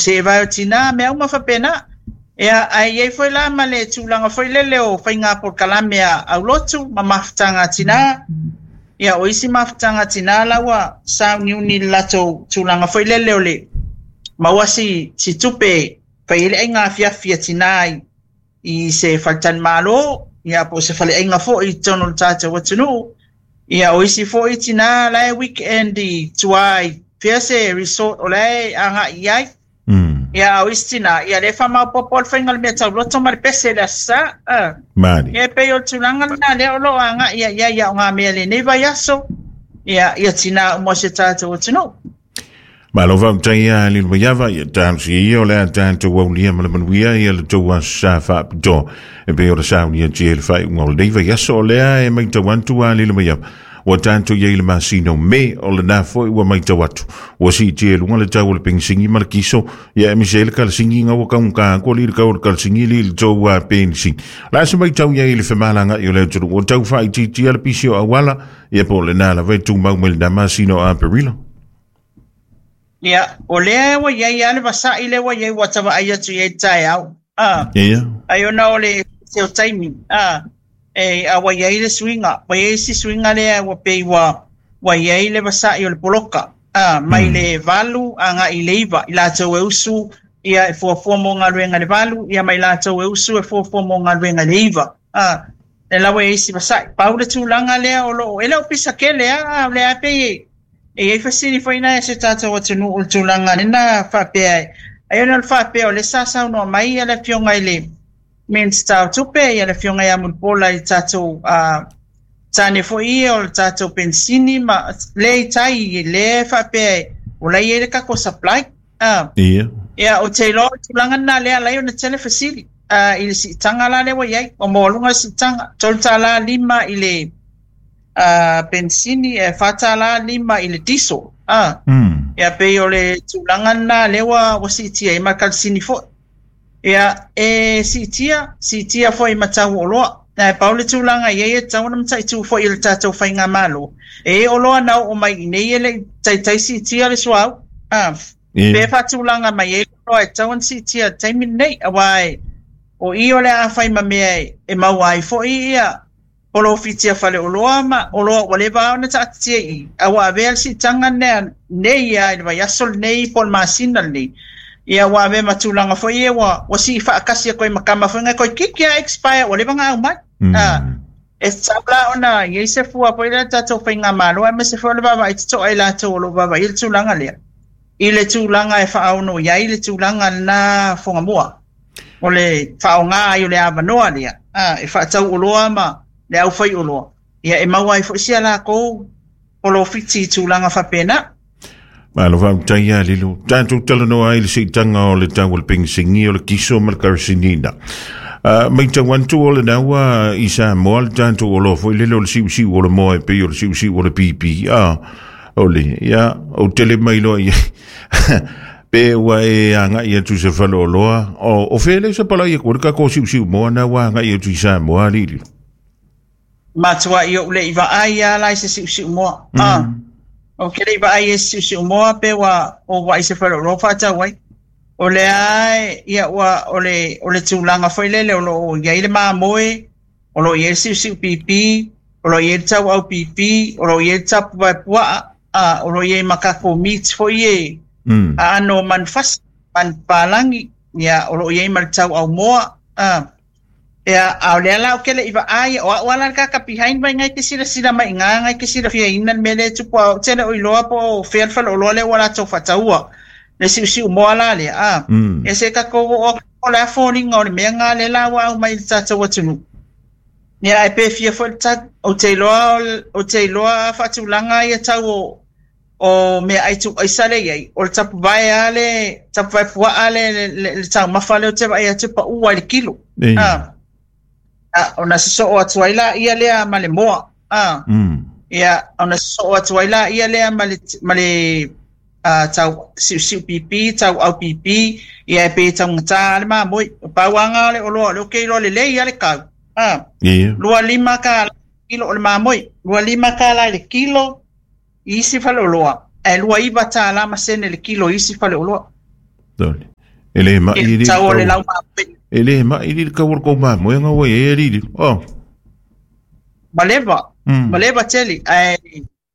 Seevae o tinā, mea uma faapena. Ia, ae i ai foi la ma le tulaga foi lele o faiga polokalame a aulotu ma mafutaga a tinā. Ia, o isi mafutaga a tinā la ua sauniuni i le latou tulaga foi lele o le maua si, si tupe e fai ai le aiga afiafi a tinā i, i se faletalimalo, ia po o se faleaiga foi i totonu o le tatou atunuu. Ia, o isi foi tinā la e weekend i tua i fea se resort o la e agai i ai. Ia, a o isi tinā, ia lea e faamaopoopo le faiga o le mea tauloto ma le pese i le Aso Sa. Malie. Ia, e pei o le tulaga lena lea o lo o agai ai i ai aogamea i lenei vaiaso, ia, ia tinā uma o si o tatou atunuu. Malo faafetai ia Lilo Maiava, ia talosia ia o le a tatou aulia ma le manuia ia le tou aso sa faapitoa e pei ona saunia tia i le faaiuga o lenei vaiaso. O lea e matau atu a Lilo Maiava, ua tatou i ai i le masina o Me, o lena foi ua matau atu ua siitia i luga le tau o le penisini ma le kiso, ia aemaise ai le kalasini ina ua taugata atu alii le tau o le kalasini i le tou penisini. O le a se matau i ai i le femalagaai o le atunuu, ua tau faaitiitia le pisi o auala, ia po o lena lava e tumau mai lena masina o Aperila? Ia, o lea ua i ai lava le vasa'i lea ua i ai ua ta vaai atu i ai i le taeao. A, Ia. Ai ona o le se o taimi, a, e, a ua i ai le suiga, ua i ai si suiga lea ua pei ua, ua i ai le vasa'i o le poloka, a, mai le 8 agai i le 9, i latou e usu, ia, e fuafua mo galuega i le 8, ia ma i latou e usu e fuafua mo galuega i le 9. A, lea la ua i ai si vasa'i. Pau le tulaga lea o lo o, e le o pisa tele lava, a o lea lava e pei e, E i ai fesili foi nai a si o tatou atunuu i le tulaga lena faapea ai ona o le faapea o lea sa saunoa mai le Afioga i le Minisita o Tupe, ia le Afioga ia Mulipola i le tatou tane foi ia o le tatou penisini ma lea i tai lea faapea o la e i ai le tatou supply. Ia. Ia, ou te iloa o le tulaga lena lea e ala ai ona tele fesili i le siitaga la lea ua i ai. Ua maualuga le siitaga, $3.5 i le penisini e $4.5 i le diesel. Ia pei o le tulaga lena lea ua, ua siitia ai ma le kalasini foi. Ia, e siitia, siitia foi ma tau o oloa. Ae pau le tulaga i ai e tatau ona mataitu foi e le tatou faigamalo. E i ai oloa na oo mai i inei e le i taitai siitia le suauu. Pe faatulaga mai ai oloa e tatau ona siitia i le taimi lenei, aua o i o le a fai ma mea e maua ai foi ia polofiti a faleoloa ma oloa ua leva lava ona taatitia i i, a ua avea le siitaga lea nei lava i le vaiaso lenei po o le masina lenei, ia ua avea ma tulaga foi ia ua, ua sii faatasi atu ai ma tama foi nei toeitiiti lava expire ua leva ona aumai. E tatau la ona i ai se fua foi lea a le tatou faigamalo aemaise foi o le vaavaai totoa i latou o lo o vaavaaia le tulaga lea, i le tulaga e faaono i ai le tulaga lena fogamua. O le faaaoga ai o le avanoa lea e faatau oloa ma le aufaioloa, ia e maua ai foi si a latou polofiti i tulaga faapena. Malo faafetai ia Lilo. Tatou talanoa ai i le siitaga o le tau o le penisini, o le kiso ma le karasinina. Matau atu o lena ua i Samoa le tatou oloa foi lele o le siusiu o le moa e pei o le siusiu o le pipi. O le, ia, ou te le mailoa i ai. Pe ua e agai atu i se faleoloa, o fea lea e sapalai atu ai le tatou siusiu moa na ua agai atu i Samoa, Lili? Matuai ou le i vaai lava la i se siusiu moa. Ou te le i vaai i se siusiu moa pe ua ou vaai i se faleoloa faatau ai. O lea e, ia, ua, o le, o le tulaga foi lele o lo o i ai le mamoe, o lo o i ai le siusiu pipi, o lo o i ai le tauau pipi, o lo o i ai le tapuvae puaa, o lo o i ai ma tatou meat foi e aano o manufasi, manupapalagi, ia, o lo o i ai ma le tauau moa. Ia, a o lea la ou te le i vaai, o au lava la le tagata behind mai nai te silasila mai i ina, nai te silafiaina le mea lea e tupu, a ou te le o iloa po o fea le faleoloa lea ua latou faataua le siusiu moa la lea, Ia se i tatou oo atu po o le a foliga o le mea lena lea la ua aumai i le tatou atunuu. Ia, ae pe fia foi le tau. Ou te iloa, ou te iloa a faatulaga ia tau o, o meaai tuuaisa lea e i ai, o le tapuvae lava le, tapuvae puaa le, le, le taumafa lea ou te vaai atu e pau lava i le kilo. Ona sosoo atu ai laia lea ma le moa. Ia, ona sosoo atu ai laia lea ma le, ma le tau siusiu pipi, tauau pipi, ia e pei e taugata lava le mamoe. Pau lava lena o le oloa o lea ou te iloa lelei lava le tau. $25 kilo o le mamoe, $25 i le kilo i isi faleoloa, ae $29 ma sene le kilo i isi faleoloa. E le mai i tau o le lau mamoe. E le mai i le kau o le kou mamoe nga ua e lili. Oh. Maleva. Maleva tele. Ai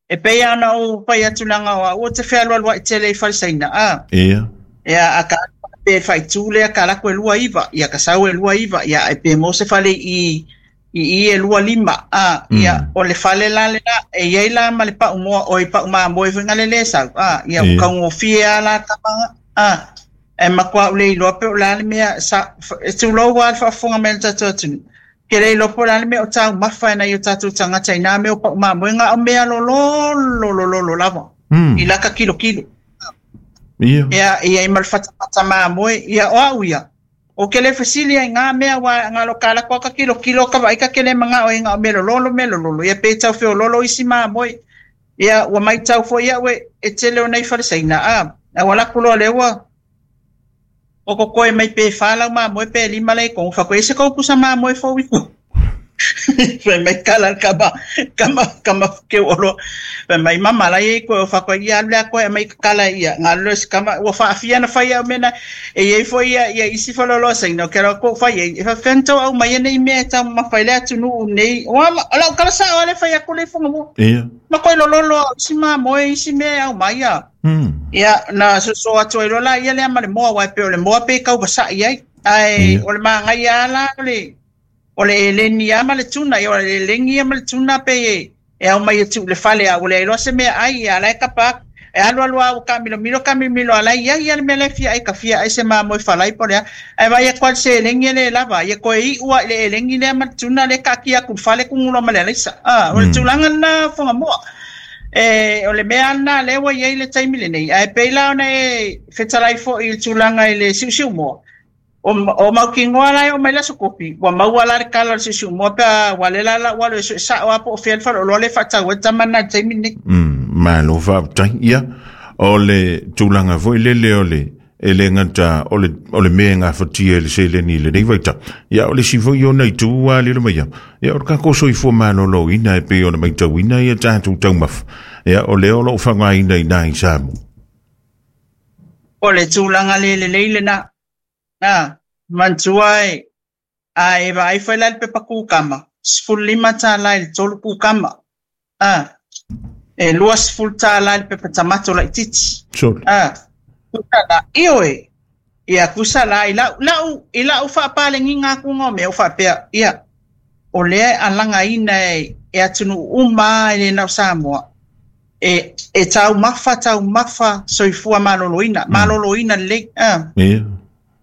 e pei ana o pai atulanga o ua te fealualua'i tele i falesaina a. Ia. Ia a ka pe faitu lea ka lako e 29, ia ka sau e 29, ia e pe mo se fale i e 25 a, ia o le fale la le la e iai la ma le pau moa o i pau mamoe foi ngale le sau a, ia o kaugofie a la tamaga a, e makuā ule iloa pe o le a le mea sa e tulou lava le faafofoga mai a le tatou atunuu ke le iloa po o le a le mea o taumafa e nai o tatou tagata i nā mea o pau mamoe ga o mea lololo lololo lava i laka kilokilo. Ia. Ia, ia i ma le fatafata mamoe, ia o au ia. O ke le fesili ai ngā mea wa ngā lo kala kwa ka kilo kilo ka vai ka kele manga o inga o mea lololo mea lololo. Ia pe tau feo lolo isi mamoe. Ia ua mai tau fo ia we e tele o nei falesaina a. A wala kulo le ua o ko koe mai pe whalau mamoe pe lima le kongu whako e se kau pusa mamoe fo wiku. Fai mai kala kama kama kama ke olo. Fai mai mama la e koe o whako ia alu lea koe mai kala ia ngā lo se kama ua whaafia na whai au mena e iei fo ia ia isi whalolo saina o ke rau ko whai e fa whento au mai nei mea tau mawhai le atu nuu nei o ama o lau kala sa o ale whai aku le whanga mo. Ia. Ma koe lololo isi mamoe isi mea au mai ia. Ia na so atu ai lola ia lea ma le moa wai pe o le moa pe kau vasai ai. Ai o le maangai ala o le o le eleni a ma le tuna, ia o le elengi a ma le tuna pe e au mai e tuu le fale a ua le iloa se mea ai ia la e kapa e alu alu a ua kamilomilo kamilomilo ala ia ia le mea le fia ai ka fia ai se mamoe falai po le a ai vai e koa se elengi le lava ia koe i ua le elengi lea ma le tuna le kaakia aku le fale kuguloa ma le alaisa a o le tulaga lena fogamoa e o le mea lena lea ua iai le taimi lenei ae pei la ona e fetalai fo'i i le tulaga i le siusiumoa o mautinoa la e oo mai le aso kopi ua maua la le kala o le siusiumoa pe a ua le la la ua alu e suesao a po o fea le faleoloa le faatau ai le tama lena i le taimi lenei. Malo faafetai. Ia, o le tulaga foi lele o le e le gata o le o le mea e gafatia e le seleni i lenei vaitau. Ia, o le isi foi ona itu ua alilo mai au. Ia, o le tatou soifua maloloina e pei ona matauina ia tatou taumafa. Ia, o lea o lo o faaaogaina i ina i Samoa. O le tulaga le lelei lena. A, manatua e, a e vaai foi la i le pepa kukama, $15 i le tolu kukama. A, e $20 i le pepa tamato laitiiti. Sure. A, kusa la, ioe, ia kusa la i lau, lau, i lau faapalegiga atu o mea o faapea, ia, o lea e alagaina e, e atunuu uma e le na o Samoa. E, e taumafa, taumafa soifua maloloina, maloloina lelei. A. Ia.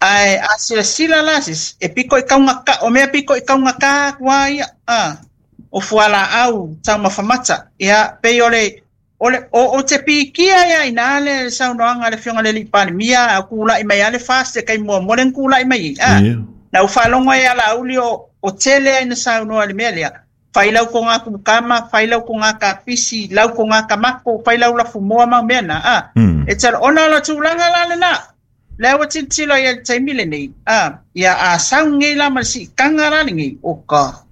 Ae a silasila la sisi, e piko i kaugata, o mea piko i kaugata atu a ia, a, o fualaau taumafa mata. Ia, pei o le, o le, o, o te pikia ia inā le saunoaga a le Afioga i le Alii Palemia, a kula'i mai lava le FAST e taimi muamua lea na kula'i mai ai, a. Ia. Na ou faalogo ai ia Laauli o, o tele ai na saunoa i le mea lea, fai lau toga kukama, fai lau toga kapisi, lau toga tamato, fai lau lafumoa ma mea na, a. E tala, ona o le tulaga la lena, lea ua tilotilo ai i le taimi lenei, a, ia a sau nei la ma le siitaga la lenei, o ka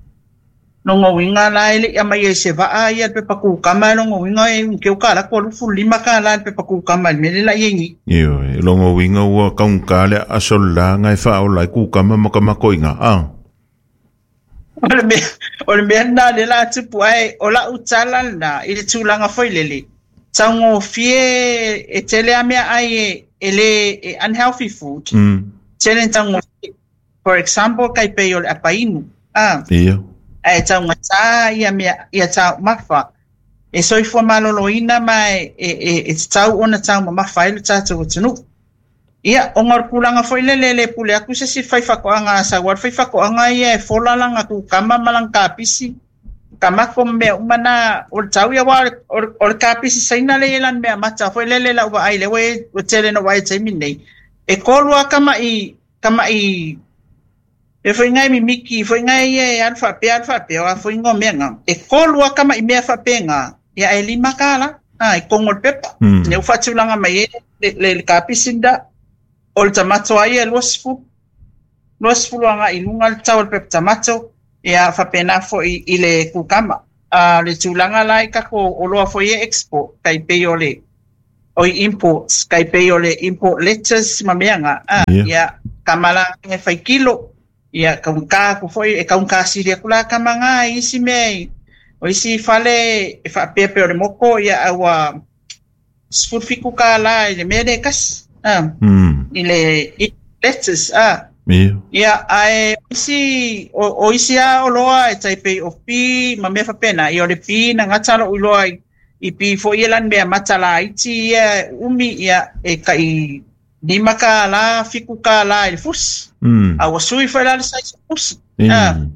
lona uiga la e le i aumai ai se vaa ia le pepa kukama, e lona uiga e unu keu kala kua $25 i le pepa kukama i le mea lea la i ai nei. Ioe, lona uiga ua taugata le aso le laga e faaola ai kukama ma tamato i ina, a. O le mea, o le mea lena lea la tupu ae o lau tala lena i le tulaga foi lele, taugofie e tele a mea ai e, e le e unhealthy food. Tele na taugofie. For example, kai pei o le apainu. A. Ia. Ae taugata ia mea, ia taumafa. E soifua maloloina ma e, e, e, e tatau ona taumamafa ai le tatou atunuu. Ia, ona o le tulaga foi lele e le pule atu se isi fai faatoaga a sau lava le fai faatoaga ia e fola lana kukama ma lana kapisi, tamato ma mea uma na, o le tau ia aua o le kapisi Saina lea e i ai lana mea mata foi lele i lau vaai lea ua i ai, ua tele ina ou vaai i le taimi lenei, e tolu lava tama'i, tama'i e foi nai mimiti foi nai ia e alu faapea alu faapea, o a foi igoa o mea na, e tolu lava tama'i mea faapena, ia e $5 a i totonu o le pepa. Lea ua faatulaga mai ai le, le kapisi lena. O le tamato lava ia e 20, 20 agai i luga le tau o le pepa tamato, ia faapena foi i le kukama. A o le tulaga la i tatou oloa foi e export, tai pei o le o i imports, kai pei o le import letters ma mea nga, ia, kamalaga e fai kilo, ia, kaugata aku foi, e kaugata sili aku la kama nga i isi mea o isi fale e faapea pei o le moko, ia, a ua $17 i le mea le kasi, i le letters, Ia, ae isi, o isi a oloa e tai pei o pi ma mea faapena, ia o le pi na gata lo'u iloa i pi foi ia lani mea mata laiti ia umi, ia e kai $5, $7 i le fusi. A ua sui foi la le size o fusi. Ia,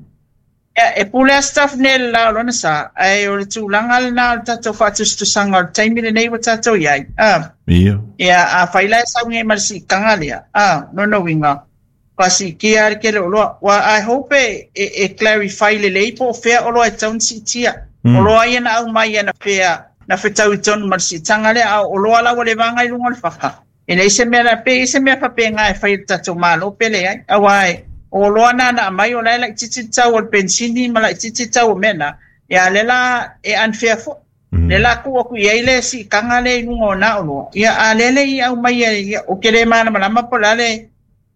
e pule a staff nei le la o lona sa, ae o le tulaga lena o le tatou faatusatusaga o le taimi lenei ua tatou iai. Ia, a fai la e sauni ai ma le siitaga lea, lona uiga, faasiitia le tele o oloa. Wa I hope e clarify lelei po o fea oloa e tatau ona siitia. Oloa ia na aumai ia na fea, na fetau i tonu ma le siitaga lea, a o oloa la ua leva aga i luga o le faka. E leai se mea la, pe i se mea faapena e fai e le tatou Malo pe leai. Aua e, o oloa na na aumai o la e laitiiti le tau o le penisini ma laitiiti le tau o mea na, ia lea la e unfair foi. Le la tuu atu i ai le siitaga lea i luga o na oloa. Ia a lea le i aumai ia, o ke le malamalama po o le a le,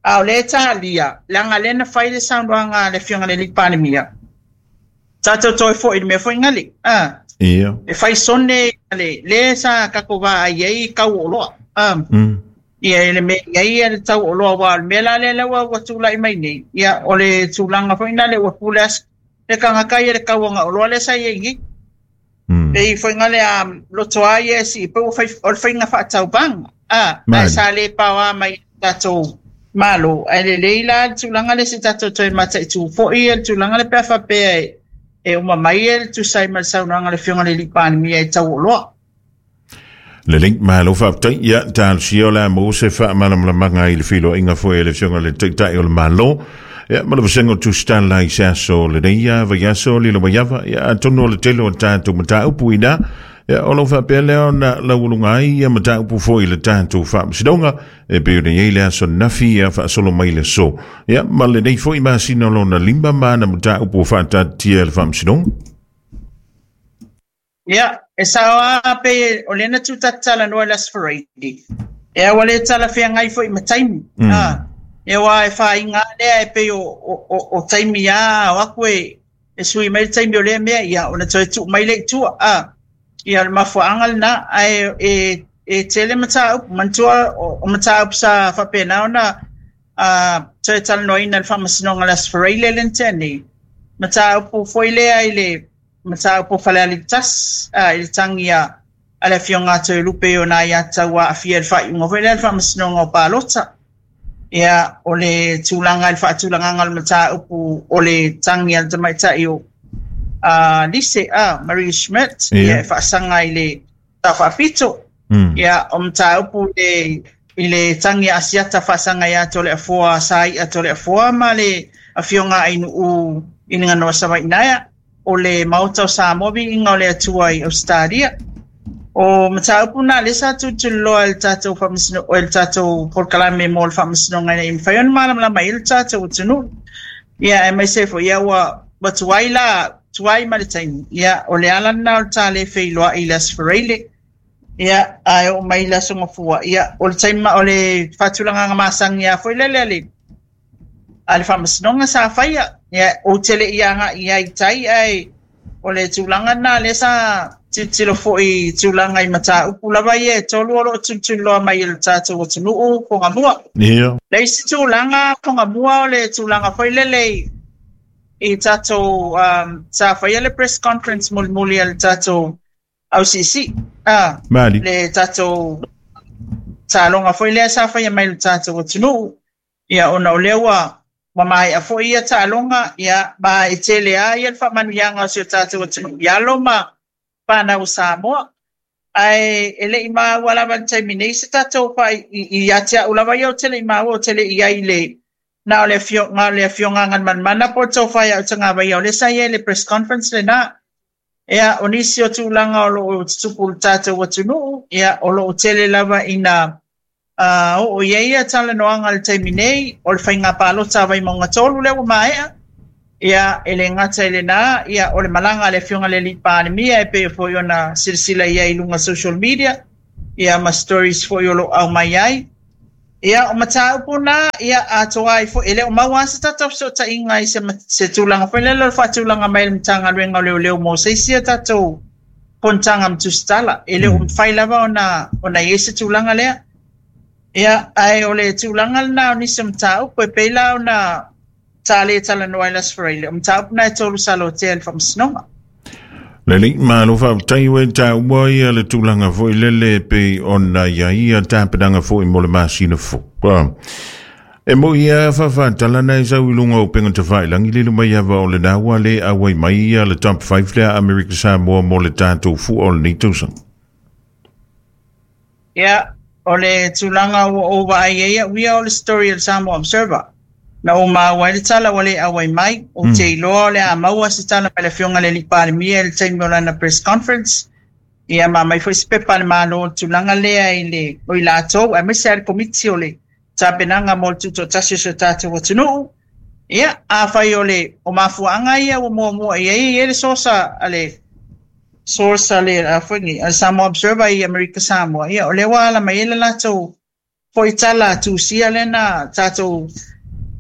a o lea e talia, leaga lea na fai le saunoaga a le Afioga i le Alii Palemia. Tatou toe foi i le mea foi nale. E fai sone le le sa tatou vaai ai i tau o oloa. Ia e le mea i ai ia le tau o oloa, aua o le mea la lea lea ua tulai mai nei. Ia o le tulaga foi nale ua pule as le tagata ia le tauaga oloa lea sa i ai nei. Pei foi nale a loto a ia si pe ua fai o le faiga faatauvaga. Ae sa le paoa mai tatou Malo, ae lelei la le tulaga le se tatou toe mataitu foi le tulaga le pe a faapea e uma mai e le tusa ai ma le saunoaga a le Afioga i le Alii Palemia i tau o oloa. Lelei, malo faafetai. Ia, talosia o le a maua se faamalamalamaga i le feiloaiga foi a le Afioga i le Taitai o le Malo. Ia, ma le vasega o tusitala i se aso lenei ia vaiaso lilo mai ava. Ia, atonu o le tele o tatou mataupu ina. Ia, o lo faapea lea ona laualuga ai ia mataupu foi i le tatou faamasinoga e pei ona i ai le aso nafi ia faasolo mai le aso. Ia, ma lenei foi masina o lona 5 ma ana mataupu o faataatitia e le faamasinoga. Ia, e sao a pe o lea na tūtatalanoa i le Aso Faraile. E aua le talafeagai foi ma taimi. E aua e whainga lea e pei o taimi a o aku e sui mai le taimi o lea mea, ia, ona toe tuu mai le i tua. Ia, o le mafuaanga lena, ae e tele mataupu, manatua o mataupu sa faapena ona toe talanoaina le faamasinoga le Aso Faraile le na tea nei. Mataupu foi lea i le mataupu o Falealili 1, i le tangi a le Afioga a Toelupe i ona ia tau aafia i le faaiuga foi lea le faamasinoga o palota. Ia, o le tulaga i le faatulagaga o le mataupu o le tangi a le tamaitai o Lise, Marie Schmidt, ia e faasaga i le Sao Faapito. Ia, o mataupu i le tangi a Asiata faasaga ia Toleafoa, Saia Toleafoa ma le Afioga a Ainuu i le Ganoa Savainaea, o le Maota o Samoa viiga o le Atua i Ausetalia. O mataupu na lea sa tulituliloa e le tatou faamasino, e le tatou polokalame mo le faamasinoga ina ia mafai ona malamalama ai le tatou atunuu. Ia, aemaise foi ia ua tuai la, tuai ma le taimi. Ia, o le ala lena o le ta le feiloai i le Aso Faraile. Ia, ae oo mai i le Aso Gafua. Ia, o le taimi, o le faatulagaga masani lava foi lele a le faamasinoga sa faia. Ia, ou te le i agai i ai i tai, ae o le tulaga lena lea sa tilotilo foi i tulaga i mataupu lava ia e tolu o lo o tulituliloa mai e le tatou atunuu Fogamua. Le isi tulaga Fogamua o le tulaga foi lele i tatou sa faia le press conference mulimuli a le tatou ausiisii, le tatou taaloga foi lea sa faia mai le tatou atunuu. Ia, ona o lea ua maea foi ia taaloga, ia, ma e tele lava ia le faamanuiaga o si o tatou atunuu i alo ma whanau o Samoa. Ae e le i maua lava i le taimi nei se tatou ia te au lava ia o te le i maua o te le i ai le na o le afioga a Galumalemana po o le tofa ia Utagavaia o lea sa i ai le press conference lena. Ia, o nisi o tulaga o lo o tutupu i le tatou atunuu, ia, o lo o tele lava ina oo i ai ia talanoaga i le taimi nei, o le faiga palota a Vaimauga 3 lea ua maea. Ia, e le gata i lena, ia, o le malaga a le Afioga i le Alii Palemia e pei foi ona silasila i ai i luga social media. Ia ma stories fo'i o lo'o aumai ai. Ia o mataupu na, ia atoa ai fo'i, e le o maua lava se tatou fesootaiga i se se tulaga foi lele o le faatulaga mai e le Matagaluega o Leoleo mo se isi a tatou fonotaga ma tusitala. E le o mafai lava ona ona i ai se tulaga lea. Ia, ae o le tulaga lena o nisi o mataupu e pei la ona sa le talanoa ai le Aso Faraile, o mataupu na e tolu sa lotea e le Faamasinoga. Lelei, malo faafetai ua e taua ia le tulaga foi lele e pei ona i ai ia tapenaga foi mo le masina fou. E moi ia faafatala na e sau i luga o upega tafailagi lilo mai ava o lena ua le auai mai ia le top 5 lea Amerika Samoa mo le tatou fua o lenei tausaga. Ia, o le tulaga ua ou vaai ai au ia o le story a le Samoa Observer. Na ou maua ai le tala ua le auai mai, ou te iloa o le a maua se tala mai le Afioga i le Alii Palemia i le taimi o lana press conference. Ia ma aumai foi se pepa a le Malo o le tulaga lea i le, o i latou aemaise lava le Komiti o le tapenaga mo le tutoatasi o si o tatou atunuu. Ia, afai o le o mafuaaga ia ua muamua i ai, e i ai le source a le source a le a foi nei, a le Samoa Observer i Amerika Samoa, ia o lea ua ala mai ai le latou foi tala tusia lea na tatou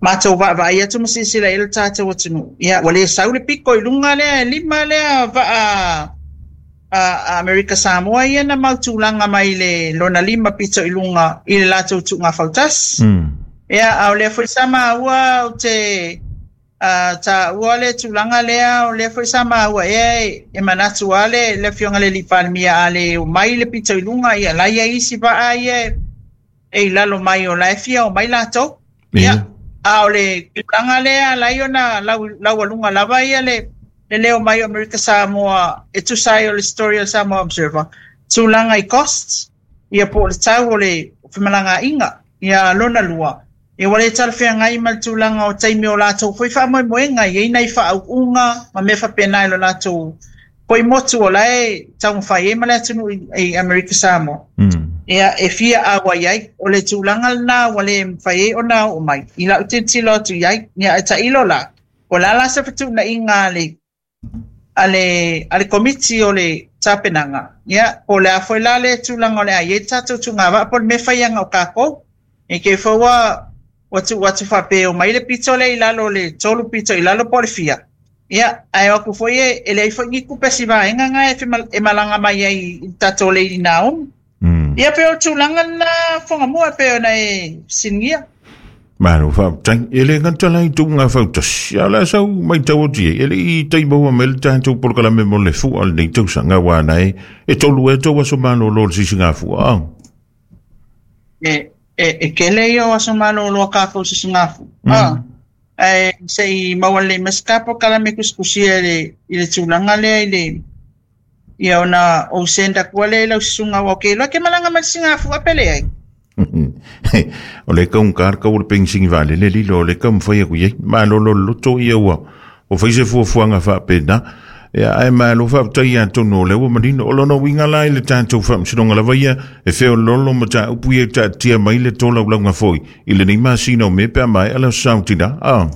matou vaavaai atu ma silasila i ai le tatou atunuu. Ia, ua le sau le piko i luga lea e lima lea vaa a Amerika Samoa ia na mau tulaga mai le lona lima pito i luga i le latou tuuga fautasi. Ia, a o lea foi sa maua ou te taua le tulaga lea, o lea foi sa maua ea e manatu lava le, le Afioga i le Alii Palemia a le omai le pito i luga, ia la e i ai isi vaa ia e i lalo mai o la e fia omai latou. Ia, a o le tulaga lea ala ai ona laualuga lava ia le le leo mai o Amerika Samoa e tusa ai o le story a le Samoa Observer, tulaga i costs, ia po o le tau o le femalagaaiga. Ia lona lua, ia ua le talafeagai ma le tulaga o taimi o latou foi faamoemoega, e i ai nai faauuga ma mea faapena i lo latou foi motu o la e taumafai ai ma le atunuu i Amerika Samoa. Ia, e fia auai ai. O le tulaga lena ua le mafai ai ona oo mai i lau tilotilo atu i ai. Ia, ae tailo la, o le a la se fetuunaiga a le a le a le Komiti o le Tapenaga, ia, po o le a foi la le tulaga o le a i ai le tatou tugavaa po o le mea e fai aga o kākou. E ke foi ua ua tuu atu faapea e omai le pito lea i lalo o le tolu pito i lalo po o le fia, ia, ae o atu foi e, e leai foi ni tupe a si vaega na e, e malaga mai ai i le tatou Lady Naomi. Ia pei o le tulaga lena Fuagamua e pei ona e fesiligia. Malo faafetai. E le gata la i tuuga fautasi, a o le a sau matau atu i ai, e le i tai maua mai le tatou polokalame mo le fua o lenei tausaga, aua na e, e tolu ea tou aso malolo o le sisigafua. Ah. E, e, e kele ia o aso malolo a kākou sisigafu. Ah. Ae se i maua lelei mai se ta polokalame tusitusia i le, i le tulaga lea i le Ia ona ou send atu lea i lau susuga aua ou te iloa e te malaga mai le Singafua pe leai. O le kaunga le kau o le penisini vaalele lilo o le taumafai atu i ai. Malolo le loto ia ua ua fai se fuafuaga faapena. Ia, ae malo faafetai atonu o lea ua manino. O lona uiga la i le tatou faamasinoga lava ia e feoloolo mataupu ia e taatia mai le tolaulauga foi i lenei masina o Me pe a maea le Aso Saotina. Ah.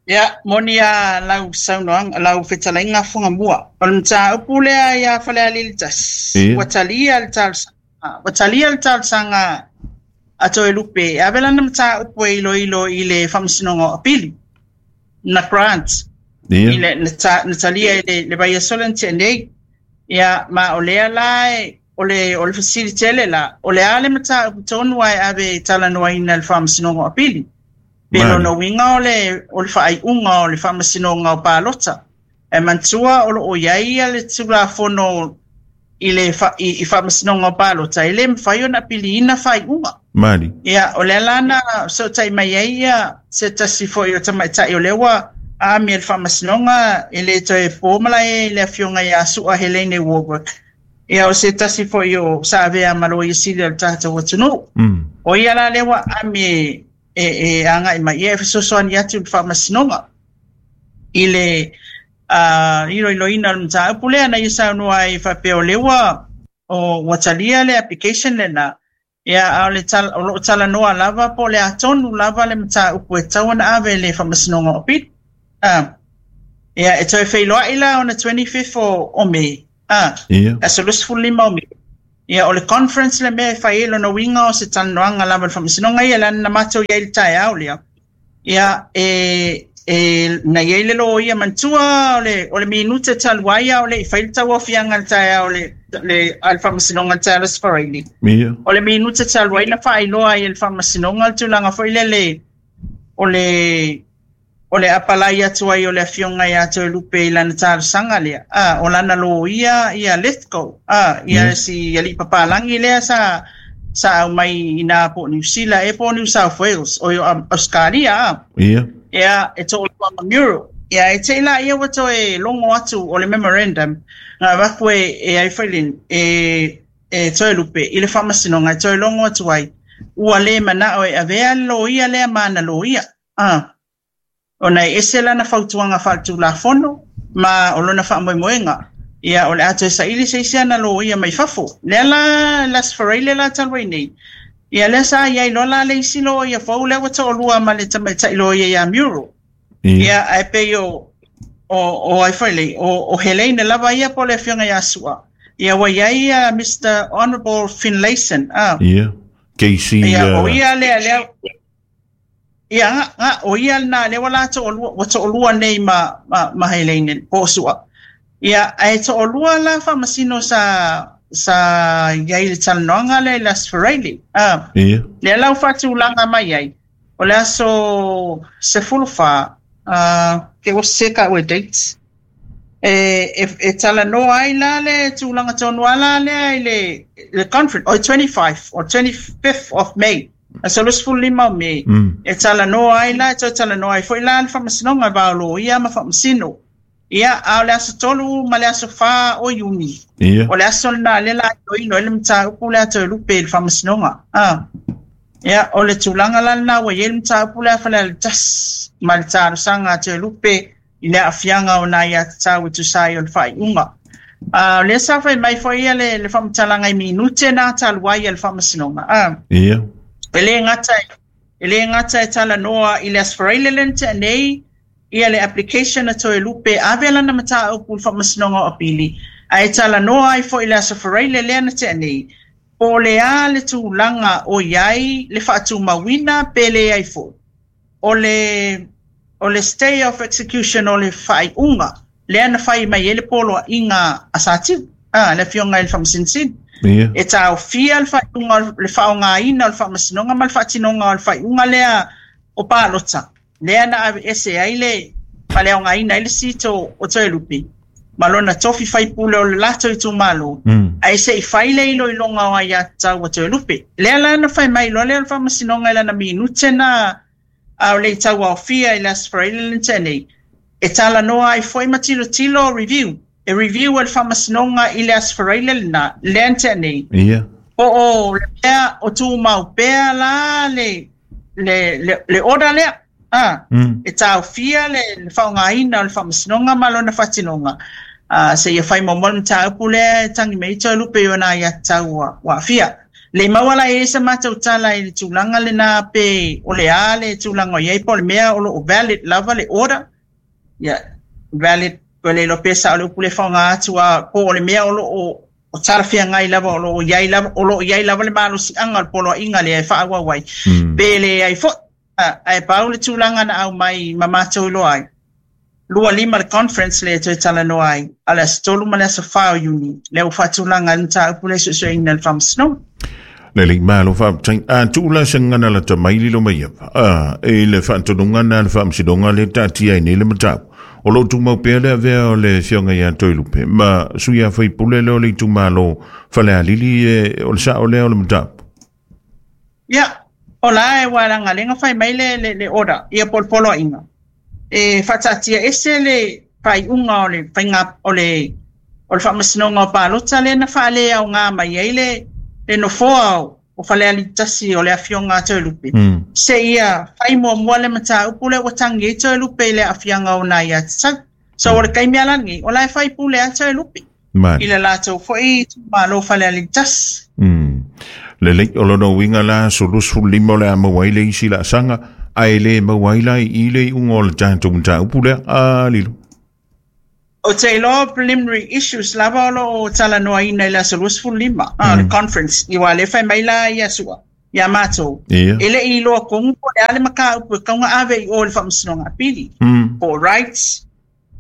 Ia, moni a lau saunoaga, lau fetalaiga Fuagamua. O le mataupu lea ia Falealili 1, ua talia le talosaga, ua talia le talosaga a Toelupe e ave lana mataupu e iloilo i le Faamasinoga o Apili, na grant, i le, na, ta, na talia i le, le vaiaso lea na tea nei. Ia, ma o lea la e, o le, o le fesili tele la, o le a le mataupu tonu ae ave e talanoaina i le Faamasinoga o Apili? Pe lona uiga o le, o le faaiuga o le Faamasinoga o Palota. Ae manatua o lo o i ai ia le Tulafono i le fa, i, i Faamasinoga o Palota, e le mafai ona piliina faaiuga. Mali. Ia, o lea la na fesootai mai ai ia se tasi foi o tamaitai o lea ua aamia i le Faamasinoga, e le toe po malae i le Afioga ia Su'a Helene Warbrick. Ia, o se tasi foi o sa avea ma Loia Sili o le tatou atunuu. O ia la lea ua aami e, e, e agai mai, ia e fesoasoani atu i le Faamasinoga i le iloiloina o le mataupu lea na ia saunoa ai faapea o lea ua, o, ua talia le application lena, ia, a o le tal, o lo o talanoa lava po o le a tonu lava le mataupu e tatau ona ave i le Faamasinoga o Apili. Ia, e toe feiloai la ona 25 o, o Me, aso 25 o Me. Ia, o le conference le mea e fai ai lona uiga o se talanoaga lava i le Faamasinoga ia, leaga na matou i ai i le taeao lea. Ia, e na i ai le loia, manatua o le minute talu ai a o le i fai le tauaofiaga i le taeao le a le Faamasinoga i le taeao o le Aso Faraile. O le minute talu ai na faailoa ai e le Faamasinoga le tulaga foi lele o le apalai atu ai o le afioga ia Toelupe i lana talosaga lea, o lana loia ia Lithgow, ia si alii papalagi lea sa aumai ina po o Niu Sila e po o New South Wales o Australia Ia, e to'olua ma Muriel. Ia, e te i la ia ua toe logo atu o le memorandum na avatu e ai foi le e Toelupe i le Faamasinoga e toe logo atu ai ua le mana'o e avea le loia lea ma ana loia, ona e ese lana fautuaga faaletulafono ma o lona faamoemoega. Ia, o le a toe saili se isi ana loia mai fafo. Lea la le Aso Faraile la talu ai nei, ia lea sa iai loa la le isi loia fou lea ua to'alua ma le tamaita'i loia ia Muriel. Ia, ae pei o ai foi le o Helene lava ia po o le afioga ia Sua. Ia, ua iai ia Mr Honorable Finlayson. Ia. KC. Ia, o ia lea ia nga o ia na lea ua la to'alua ua to'alua nei ma Helene po o Sua. Ia, ae to'alua la faamasino sa iai le talanoaga lea i le Aso Faraile. Lea la ua faatulaga mai ai o le aso 14, ke ua seka ue dates e talanoa ai la le tulaga tonu a la lea i le conference o 25 or 25th of May, aso 25 o Me. E talanoa ai la, e toe talanoa ai foi la le Faamasinoga va o loia ma faamasino. Ia, a o le aso 3 ma le aso 4 o Iuni. O le aso lena lea la iloilo ai le mataupu lea Toelupe i le Faamasinoga. Ia, o le tulaga la lena ua i ai le mataupu lea Falealili 1 ma le talosaga a Toelupe i le aafiaga o nai aiatatau e tusa ai o le faaiuga. O lea sa fai mai foi ia le faamatalaga i minute na talu ai a le Faamasinoga. E le gata e talanoa i le Aso Faraile lea na tea nei ia le application a Toelupe ave lana mataupu i le Faamasinoga o Apili, ae talanoa ai foi i le Aso Faraile lea na tea nei po o le a le tulaga o i ai le faatumauina pe leai foi o le stay of execution o le faaiuga lea na fai mai ai le poloaiga a Satiu, le afioga i le Faamasinoga. E taofia le faaiuga, le faaaogaina o le Faamasinoga ma le faatinoga o le faaiuga lea o palota lea na aveese ai le faaleaogaina ai le seat o Toelupe ma lona tofi faipule o le latou itumalo, ae se i fai le iloiloga o aiatatau a Toelupe. Lea la na fai mai loa lea o le Faamasinoga i lana minute na a o le i tauaofia i le Aso Faraile le tea nei, e talanoa ai foi ma tilotilo review, e review e le Faamasinoga i le Aso Faraile lena lea na tea nei po o le mea o tumau pea la le order lea e taofia le faaaogaina o le Faamasinoga ma lona faatinoga seia fai muamua le mataupu lea e tagi mai ai Toelupe i ona aiatatau ua aafia. Le maua la e i ai sa matou tala i le tulaga lena pe o le a le tulaga o i ai po o le mea o lo o valid lava le order. Ia, valid ua le iloa pe sao le upu le faaaoga atu a po o le mea o lo o talafeagai lava o lo o i ai lava o lo o i ai lava le malosiaga o le poloaiga lea e faaauau ai pe leai foi. Ae pau le tulaga na aumai ma matou iloa ai 25 le conference lea e toe talanoa ai a le aso 3 ma le aso 4 o Iuni lea ua faatulaga ai le mataupu lea e suesueina e le Faamasinoga. Le malo faafetai. A tuula se gagana lata mai lilo mai ia. E le faatonuga na le Faamasinoga le taatia ai nei le mataupu. O lo o tumau pea le avea o le afioga ia Toelupe ma sui a faipule lea o le itumalo Falealili e o le sao lea o le mataupu. Ia, o la e ua lagalega fai mai le order, ia po o le poloaiga. E faataatia ese le faaiuga o le faiga o le Faamasinoga o Palota lea na faaleaoga mai ai le nofoa o Falealili 1 o le afioga a Toelupe. Seia fai muamua le mataupu lea ua tagi ai Toelupe i le aafiaga o nai aiatatau. So o le taimi ala lenei, o la e faipule a Toelupe i le latou foi itumalo Falealili 1. Lelei, o lona uiga la aso 25 o le a maua ai le isi laasaga, ae le maua ai la i le iuga o le tatou mataupu lea. A lilo. Ou te iloa preliminary issues lava o lo o talanoaina i le aso 25, le conference, aua o lea e fai mai la ia Su'a ia matou, e le i iloa tonu po o le a le mataupu e tatau ona ave i o i le Faamasinoga Apili, po o rights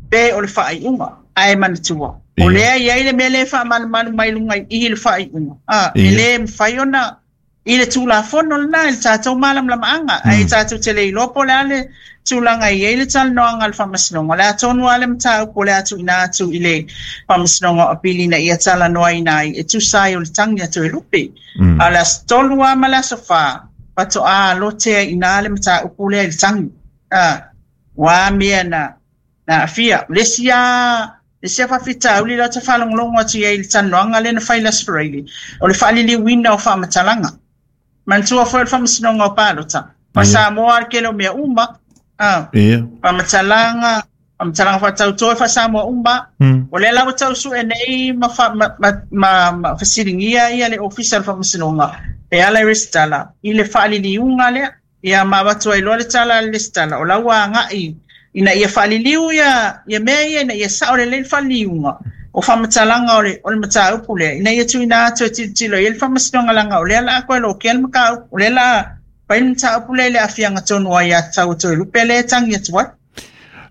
pe o le faaiuga. Ae manatua, o lea e i ai le mea lea e faamalumalu mai luga i i i le faaiuga, e le mafai ona i le Tulafono lena i le tatou malamalamaaga, ae tatou te le iloa po o le a le tulaga e i ai le talanoaga a le Faamasinoga. O le a tonu lava le mataupu o le a tuuina atu i le Faamasinoga o Apili ina ia talanoaina ai e tusa ai o le tagi a Toelupe. A o le aso 3 lava ma le aso 4 faatoa lotea i ina le mataupu lea i le tagi. Ua a mea na aafia. O le isi lava Le isi faafitauli lea ou te faalogologo atu i ai i le talanoaga lea na fai i le Aso Faraile, o le faaliliuina o faamatalaga. Manatua foi o le Faamasinoga o Palota, ma Samoa le tele o mea uma, faamatalaga, faamatalaga faatautō e faa-Samoa uma. O lea la ua tau sue nei ma, ma, ma, ma, ma fesiligia ia le Ofisa o le Faamasinoga e ala i resitala i le faaliliuga lea. Ia ma avatu ai loa le tala a le resitala, o la ua agai ina ia faaliliu ia, ia mea ia ina ia sao lelei le faaliliuga o faamatalaga o le, o le mataupu lea, ina ia tuuina atu e tilotilo i ai le Faamasinoga leaga o lea o le a toe lotea le mataupu, o lea o le a fai le mataupu lea i le aafiaga tonu o aiatatau a Toelupe lea e tagi atu ai.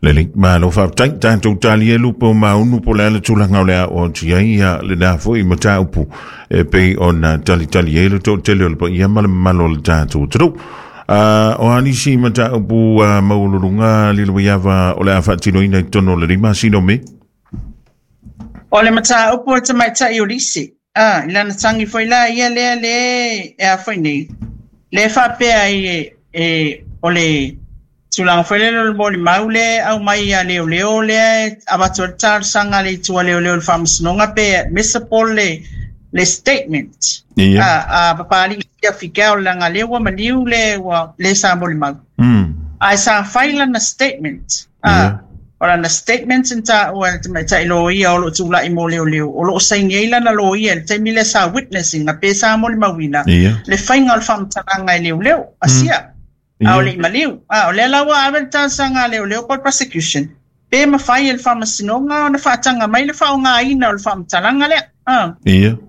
Lelei, malo faafetai, tatou talia lupe o maunu po o le a le tulaga o le a oo atu i ai ia lena foi mataupu e pei ona talitali ai le toatele o le paia ma le mamalu o le tatou atunuu. O a nisi mataupu maualuluga Lilowaiava o le a faatinoina i totonu o lenei masina o Me? O le mataupu o le tamaitai o Lisi, i lana tagi foi la ia lea le e a foi nei, le faapea ai e, o le tulaga foi lele o le molimau lea e aumai ia leoleo lea e avatu ai le talosaga a le itu a leoleo i le Faamasinoga pe admissible le statement a Papalii Siafikau leaga lea ua maliu le ua le sa molimau. Ae sa fai lana statement. O lana statement na taua e le tamaitai loia o lo o tulai mo leoleo, o lo o saini ai lana loia i le taimi lea sa witnessing pe sa molimauina le faiga o le faamatalaga e leoleo a Sia. A o le i maliu. A o lea la ua ave le talosaga a leoleo po o le prosecution, pe mafai e le Faamasinoga ona faataga mai le faaaogaina o le faamatalaga lea.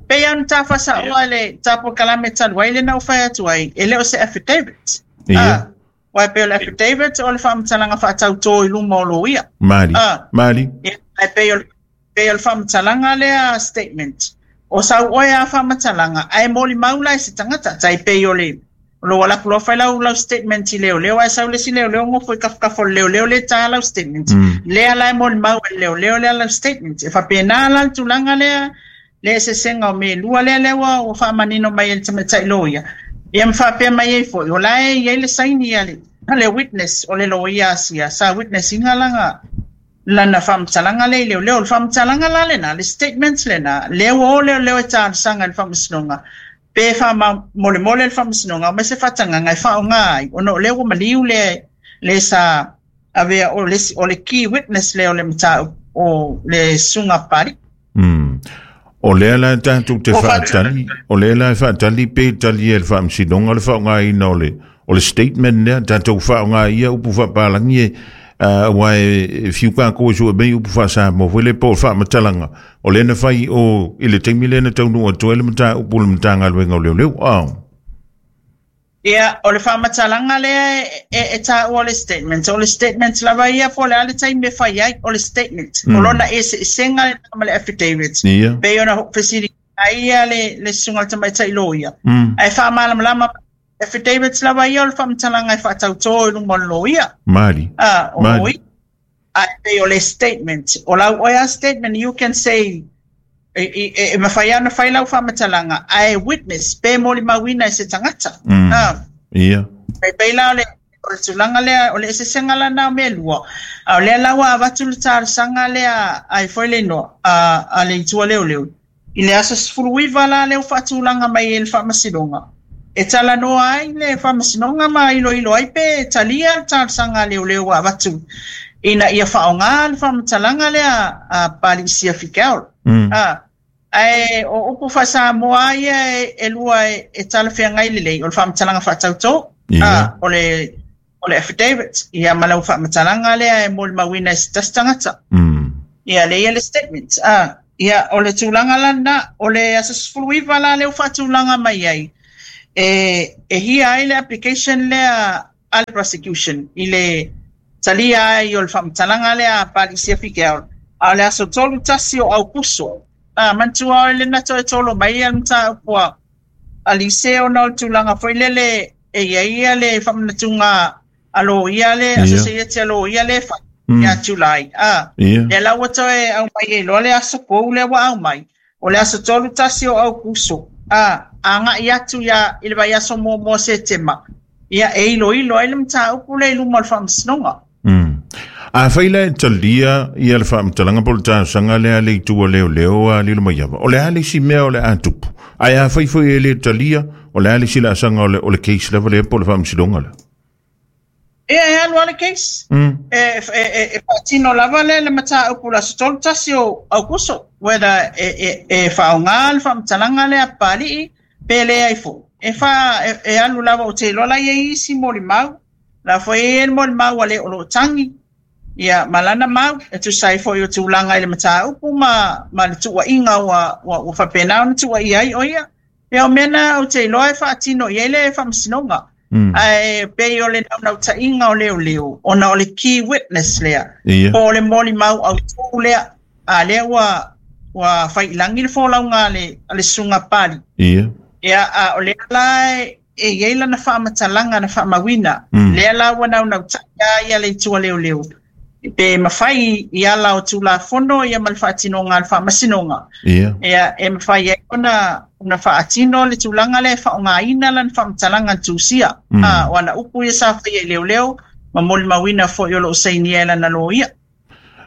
Pei lava ona ta faasaoa le ta polokalame talu ai lea na ou fai atu ai, e le o se affidavit. Aua e pei o le affidavit o le faamatalaga faatautō i luma o loia. Mali. Mali. Ae pei o le pei o le faamatalaga lea statement, o sau oe a faamatalaga ae molimau la e se tagata, tai pei o le o lou alu atu loa fai lau lau statement i leoleo ae sau le isi leoleo nofo i tafatafa o le leoleo lea e ta lau statement. Lea la e molimau e le leoleo lea lau statement. E faapena la le tulaga lea le eseesega o mea e lua lea lea ua ua faamanino mai e le tamaitai loia. Ia ma faapea mai ai foi, o la e i ai le saini a le a le witness o le loia a sia sa witness ina lana lana faamatalaga lea i leoleo. O le faamatalaga la lena, le statement lena, lea ua o leoleo e talosaga i le Faamasinoga pe faamolemole le Faamasinoga aumai se faatagaga e faaaoga ai, ona o lea ua maliu le le sa avea o le, o le key witness lea o le mataupu o le susuga a Papalii. O lea la tatou te faatali, o lea la e faatali pe tali e le Faamasinoga le faaaogaina o le o le statement lea, tatou faaaoga ia upu faapalagi e aua e fiu kākou e sue mai upu faa-Samoa foi lea po o le faamatalaga o lea na fai o i le taimi lea na taunuu atu ai le mataupu i le Matagaluega o Leoleo. Ia, o le faamatalaga lea e taua o le statement, o le statement lava ia po o le a le taimi e fai ai, o le statement. O lona eseesega lena ma le affidavit. Pei ona fesiligia ai ia le susuga i le tamaitai loia, ae faamalamalama affidavits lava ia o le faamatalaga e faatautō i luma o le loia. Mali. O loia. Ae pei o le statement, o lau oe a statement, you can say, e mafai lava ona fai lau faamatalaga, ae witness, pe molimauina e se tagata. E pei la o le tulaga lea, o le eseesega la na o mea e lua, a o lea la ua avatu le talosaga lea ai foi le igoa a le itu a leoleo, I le aso 19 la lea ua faatulaga mai e le Faamasinoga e talanoa ai le Faamasinoga ma iloilo ai pe talia le talosaga a leoleo ua avatu ina ia faaaoga le faamatalaga lea a Papalii Siafi Carroll. Ae o upu faa-Samoa ia e lua e talafeagai lelei, o le faamatalaga faatautō, o le o le affidavit, ia ma lau faamatalaga lea e molimauina e se tasi tagata. Ia lea le statement. Ia, o le tulaga lana, o le aso 19 la lea ua faatulaga mai ai, e hia ai le application lea a le prosecution i le talia ai o le faamatalaga lea a Papalii Siafi Keaola. A o le aso 31 o Aukuso, manatua o le na toe tolo mai ia le mataupu a Lise ona o le tulaga foi lele e i ai ia le faamanatuga a loia le associate a loia le fai ia July. Lea la ua toe aumai ai loa le aso fou lea ua aumai, o le aso 31 o Aukuso, agai atu ia i le vaiaso muamua o Setema, ia e iloilo ai le mataupu lea i luma o le faamasinoga. A fai la e talia ia le faamatalaga po o le talosaga lea a le itu a leoleo a Lilomaiava, o le a le isi mea o le a tupu? Ae a fai foi e le talia, o le a le isi laasaga o le case lava lea po o le faamasinoga lea? Ia, e alu lava le case. E faatino lava le mataupu le aso 31 o Aukuso, whether e faaaoga le faamatalaga lea a Papalii pe leai foi. E alu lava, ou te iloa la i ai isi molimau, la foi e i ai le molimau a le o lo o tagi, ia ma lana mau, e tusa ai foi o tulaga i le mataupu ma le tuuaiga ua faapena ona tuuaia ai o ia. Ia, o mea na ou te iloa e faatino i ai le faamasinoga. Ae pei o le naunautaiga o leoleo, ona o le key witness lea, po o le molimau autū lea, a lea ua faiilagi le folauga a le susuga Papalii. Ia, a o lea la e i ai lana faamatalaga na faamauina, lea la ua naunautai lava ia le itu a leoleo, pe mafai i ala o Tulafono ia ma le faatinoga a le faamasinoga. Ia, e mafai ai ona faatino le tulaga lea e faaaogaina lana faamatalaga na tusia. O ana upu ia sa faia i leoleo ma molimauina foi o lo o sainia e lana loia.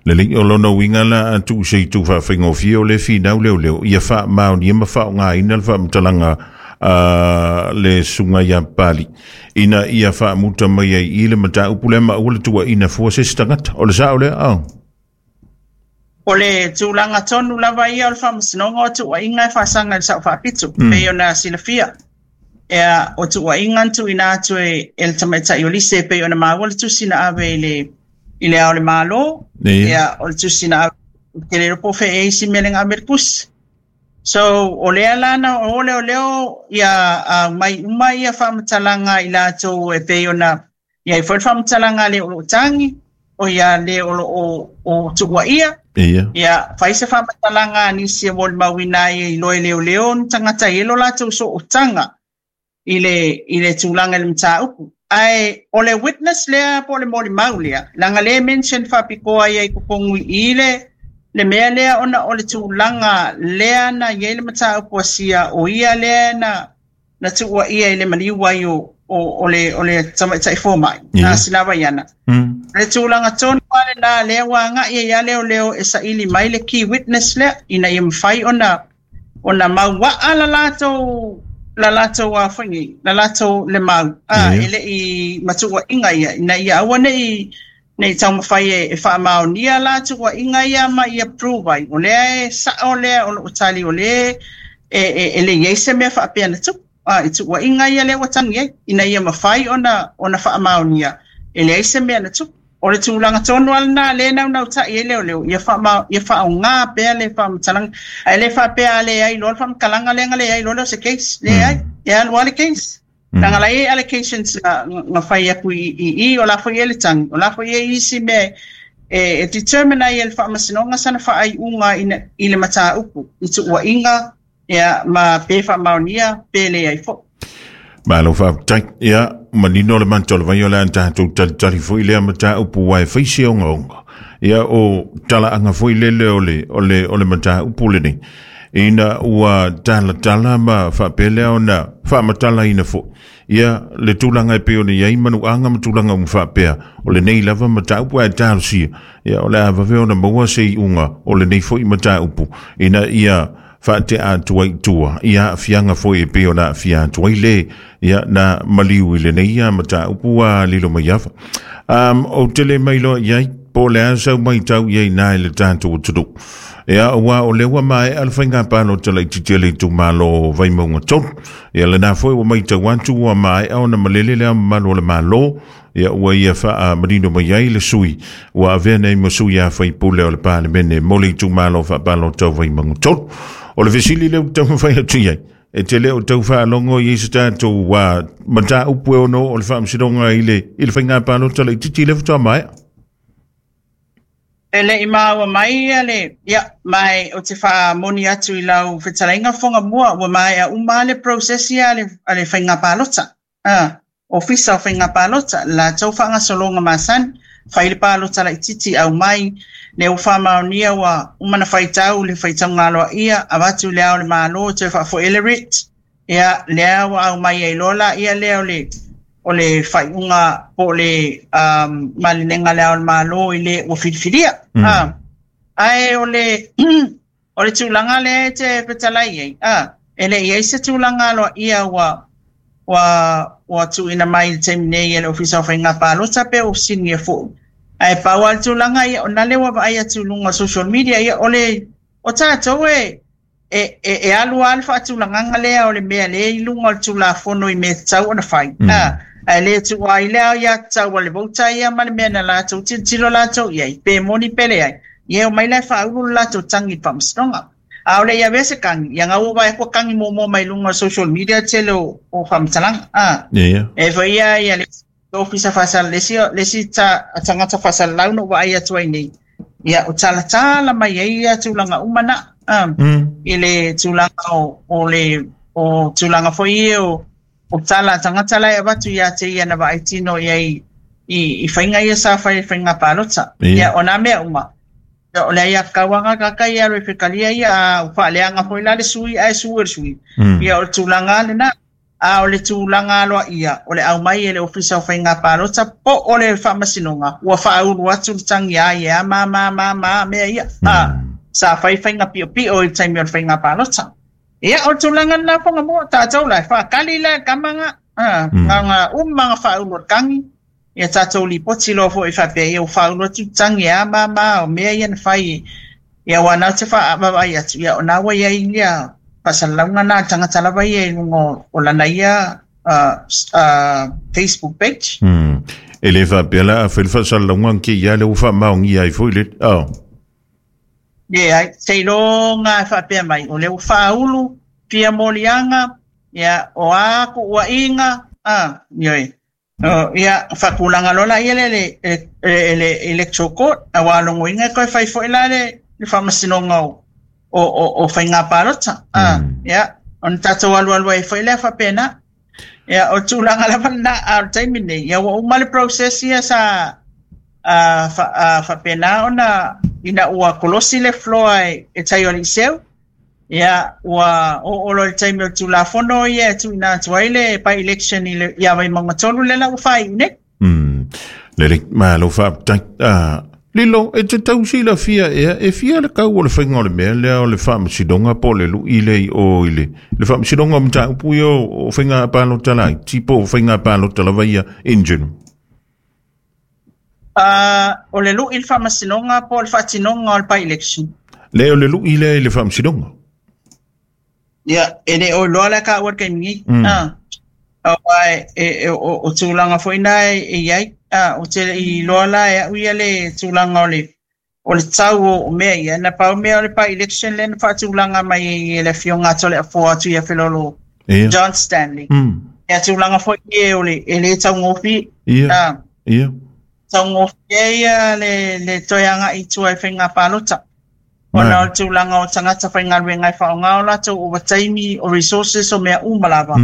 Lelei, o lona uiga la a tuu se itu faafaigofie o le finau leoleo, ia faamaonia ma faaaogaina le faamatalaga a le susuga ia Papalii, ina ia faamuta mai ai i le mataupu lea ma aua le tuuaiina fua se isi tagata. O le sao lea? O le tulaga tonu lava ia o le faamasinoga o tuuaiga e faasaga i le sao faapito, pei ona silafia. Ia, o tuuaiga na tuuina atu e le tamaitai o Lise, pei ona maua le tusi na ave i le ao o le Malo. Ia, o le tusi na ave, te le iloa po o fea e isi mea le ave le tusi. So, o lea la na o leoleo ia mai uma ia faamatalaga i latou e pei ona i ai foi le faamatalaga le o lo o tagi, o ia le o lo o tuuaia. Ia, fai se faamatalaga a nisi e molimauina ai i loe leoleo ni tagata i lo latou sootaga i le tulaga i le mataupu. Ae o le witness lea po o le molimau lea, leaga le mention faapitoa ia i totonu i le mea lea ona o le tulaga lea na i ai le mataupu asia, o ia lea na tuuaia i le maliu ai o le tamaitai fomai, na Sinavaiana. Le tulaga tonu lava lena lea ua agai ai ia leoleo e saili mai le key witness lea, ina ia mafai ona mauaa la latou foi nei, la latou le mau, e le i matuuaiga ia, ina ia aua nei taumafai e faamaonia la tuuaiga ia ma ia prove ai. O lea e sao lea o loo tali o lea e le i ai se mea faapea na tupu. I tuuaiga ia lea ua tagi ai, ina ia mafai ona faamaonia e leai se mea na tupu. O le tulaga tonu lava lena lea naunautai ai leoleo, ia faaaoga pea le faamatalaga. Ae le faapea a leai loa le faamatalaga lea na leai loa lea o se case. Leai, e alu lava le case. Leaga la e i ai allegations na fai atu i o la foi e le tagi, o la foi e i isi mea e determine ai e le faamasinoga sana faaiuga i le mataupu, i tuuaiga, ia, ma pe faamaonia, pe leai foi. Malo faafetai. Ia, manino le mata o le vai o le a tatou talitali foi lea mataupu ua e fai se ogaoga. Ia, o talaaga foi lele o le mataupu lenei. Ina ua talatala ma faapea lea ona faamatalaina foi. Ia, le tulaga e pei ona i ai manuaga ma tulaga uma faapea, o lenei lava mataupu ae talosia. Ia, o le a vave ona maua se iuga o lenei foi mataupu, ina ia faatea atu ai i tua, ia aafiaga foi e pei ona aafia atu ai le, ia, na maliu i lenei ia mataupu a Lilomaiava. Ou te le mailoa i ai, po o le a sau matau i ai nā i le tatou atunuu. Ia, ua o lea ua maea le faiga palota laitiiti a le itumalo Vaimauga 3. Ia, lena foi ua matau atu ua maea ona malele le ao mamalu o le Malo. Ia ua ia faamanino mai ai le sui ua avea nei ma sui a faipule o le Palemene mo le itumalo faapalota o Vaimauga 3. O le fesili lea ua taumafai atu i ai, e te le o tau faalogo i ai se tatou mataupu e ono o le faamasinoga i le faiga palota laitiiti lea faatoa maea. E le i maua mai ia le, ia, ma e ou te faamoni atu i lau fetalaiga fofoga mua, ua maea uma le process ia a le faiga palota. Ofisa o Faiga Palota, le latou faagasologa masani, fai le palota laitiiti aumai, lea ua faamaonia ua uma ona faitau le faitauga aloaia, avatu i le Ao o le Malo toe faafoi ai le writ, ia, lea ua aumai ai loa laia lea o le faaiuga po o le malilega a le Ao o le Malo i le ua filifilia. Ae o le o le tulaga lea e te fetalai ai, e le i ai se tulaga aloaia ua tuuina mai i le taimi nei e le Ofisa o Faiga Palota pe ua fesiligia foi. Ae pau lava le tulaga ia, ona lea ua vaai atu i luga o social media, ia o le o tatou e e alu lava le faatulagaga lea o le mea lea i luga o le Tulafono i mea e tatau ona fai. Ae le tuua ai le aiatatau a le voter ia ma le mea na latou tilotilo latou i ai, pe moni pe leai, ia e omai la e faaulu le latou tagi i le faamasinoga. A o le i avea se kagi, ia gau ua vaai atu ua kagi muamua mai luga o social media le tele o faamatalaga. E foi ia ia le ofisa faasala, le isi tagata faasalalau na ou vaai atu ai nei, ia o talatala mai ai ia tulaga uma na, i le tulaga o le o tulaga foi ia o tala a tagata la e avatu ia te ia na vaai tino i ai i faiga ia sa fai i faiga palota. Ia o nā mea uma. Ia, o le aiatatau lava tagata ia e alu e fetalia ia, a ua faaleaga foi la le sui ae sue le sui. Ia o le tulaga lena. A o le tulaga aloaia, o le aumai e le Ofisa o Faiga Palota po o le Faamasinoga, ua faaulu atu le tagi a ia ma ma ma ma mea ia. Sa fai faiga piopio i le taimi o le faiga palota. Ia, o le tulaga lena fofoga mua, tatou la e faakali la e le tama ga, ga uma ga faaulu o le tagi, ia tatou lipoti loa foi faapea ia ua faaulu atu le tagi e a ma ma o mea ia na fai. Ia aua na ou te faavaavaai atu, ia o na ua i ai ia faasalalauga na a le tagata lava ia i luga o lana ia Facebook page. E le faapea la a fai le faasalalauga ke ia lea ua faamaogia ai foi le oh. Leai, seiloga e faapea mai, o lea ua faaulu fia moliaga, ia, o a kuuaiga, ioe. Ia, faatulaga loa laia le le Electoral Court, aua logoina e toe fai foi la le faamasinoga o faiga palota. Ia, ona tatou alualu ai foi lea faapena. Ia, o le tulaga lava lena, a o le taimi lenei, ia ua uma le process ia sa faapena ona ina ua kolosi le floor e tai o Liceu, ia ua oo loa i le taimi o le Tulafono ia e tuuina atu ai le by-election i le ia Vaimauga 3 lea la ua faaiu nei. Lelei, malo faafetai. Lilo, e te tau silafia ea, e fia le kau o le faiga o le mea lea o le faamasinoga po o le lui lea i o i le faamasinoga o mataupu ia o faiga palota laiti po o faiga palota lava ia in general? O le lui i le faamasinoga po o le faatinoga o le by-election? Le o le lui lea i le faamasinoga. Ia, e le o iloa la taua i le taimi nei. Aua o tulaga foi na e i ai. Ou te le i iloa la e au ia le tulaga o le tau o mea ia. Na pau mea o le by-election lea na faatulaga mai ai e le Afioga a Toleafoa atu ia Felolo John Stanley. Ia tulaga foi ia o le e le taugofie. Taugofie ia le toe agai i tua i faiga palota. Ona o le tulaga o tagata faigaluega e faaaoga o latou ovataimi, o resources, o mea uma lava.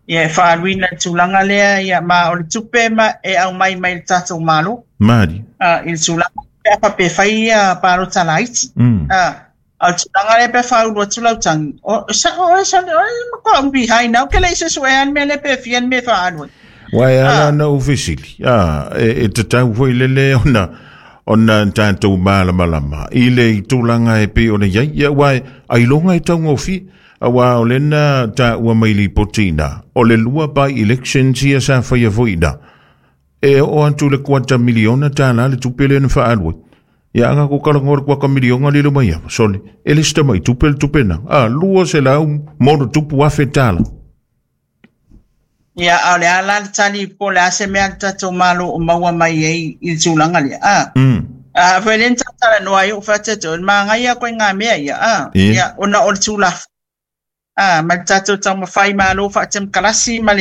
Ia e faaaluina i le tulaga lea, ia ma o le tupe ma e aumai mai le tatou Malo. Mali. I le tulaga pe a faapea e fai ia palota laiti. A o le tulaga lea pe a faaulu atu lau tagi, o sa'o oe sole oe matua umi behind au ke le i suesuea le mea lea pe fia le mea e faaalu ai. Ua e ala ona ou fesili, e tatau foi lele ona tatou malamalama i le tulaga e pei ona i ai. Ia, aua ailoga e taugofie, aua o lena taua mai lipoti ina, o le lua by elections ia sa faia foi ina, e oo atu le $250,000 le tupe lea na faaalu ai. Ia aga ko talanoa le $250 lilo mai ava, sole, e le se tamai tupe le tupe na. $200,000. Ia, a o le a la le tali po o le a se mea a le tatou Malo o maua mai ai i le tulaga lea, a. A foi lea na talanoa ai ou fai atu, o le manaia koe ngā mea ia, a. Ia, ona o le tulafono. A, ma le tatou taumafai malo faatemokarasi ma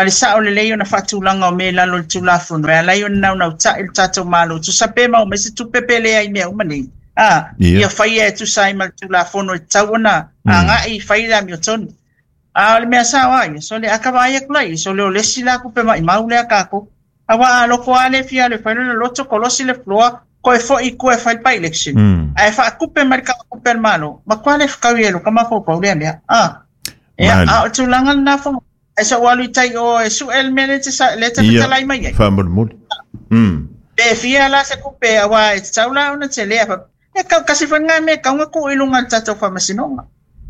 le sao lelei ona faatulaga o mea i lalo o le tulafono e ala ai ona naunautai le tatou Malo tusa pe maua mai se tupe pe leai mea uma nei. A, ia faia e tusa ai ma le tulafono e tatau ona agai fai le amiotonu. A o le mea sao a ia, so le a ka vaai atu la ia, so le o le isi la tupe maumau lea tatou. Aua a loko lava le fia le fai le loto kolosi le floor, koe foi i tua e fai le by-election. Ae faatupe mai le tupe a le Malo, matua le fetau i e lo ka mafaufau lea mea. A, ia, a o tulaga lena fo. Ai sa ua alu i tai o e su'e le mea le te le te fetalai mai ai. Faamolemole. Pe fia la se tupe aua e tatau la ona telea. E kau kasi foi ngā mea kaunga ku i lunga le tatou faamasinoga.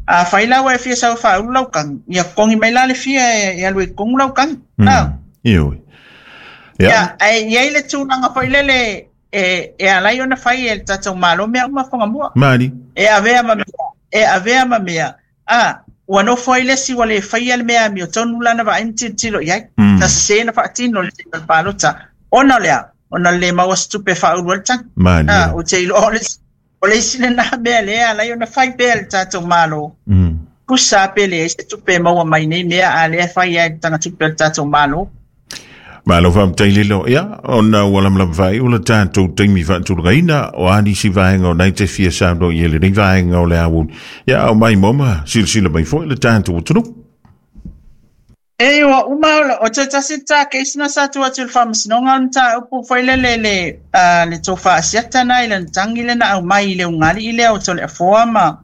A fai la ua e fia sau faaulu lau tagi, ia totogi mai la le fia e alu i totonu lau tagi. Ioe. Ia, ae i ai le tulaga foi lele e ala ai ona fai e le tatou Malo mea uma Fugamua. Mali. E avea ma mea, e avea ma mea. A, ua nofo ai le isi ua le faia le mea amiotonu lana vaai ma tilotilo i ai. Na sese na faatino le taimi o le palota. Ona o le a? Ona le maua se tupe e faaulu ai le tagi. Mali. A, ou te iloa o le isi lena mea lea ala ai ona fai pea le tatou Malo. Pusa pe leai se tupe e maua mai nei mea a lea e fai ai le tagatupe o le tatou Malo. Malo faafetai lilo. Ia, ona ua lamalama faaiu le tatou taimi faatulagaina o a nisi vaega o nai te fia saunoa i ai lenei vaega o le aoauli. Ia, ao mai moma, silasila mai foi le tatou atunuu. E ua uma o te tasi ta case na sa tu atu i le faamasinoga o le mataupu foi lele le le tofa asiata na i lana tagi lea na aumai i le ugali'i lea o Toleafoa ma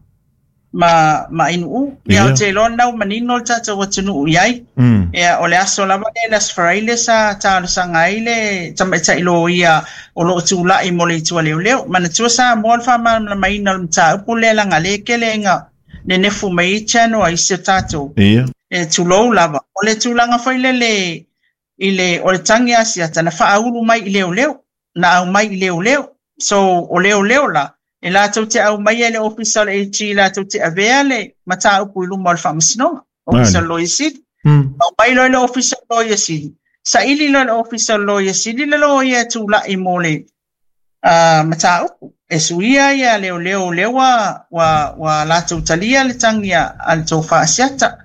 Ainuu. Ia, o te iloa na ua manino le tatou atunuu i ai. Ia, o le aso lava lea le Aso Faraile sa talosaga ai le tamaitai loia o loo tulai mo le itu a leoleo. Manatua Samoa le faamalamalamaina o le mataupu lea laga lea e tele ina nenefu mai ai channel a isi o tatou. E tulou lava. O le tulaga foi lele i le o le tagi asiata na faaulu mai i leoleo, na aumai i leoleo. So o leoleo la, e latou te aumaia i le ofisa o le AG latou te avea le mataupu i luma o le faamasinoga, ofisa o le Loia Sili. Aumai loa i le ofisa o le Loia Sili. Saili loa i le ofisa o le Loia Sili le loia e tulai mo le mataupu. E suia ia leoleo lea ua latou talia le tagi a le tofa asiata.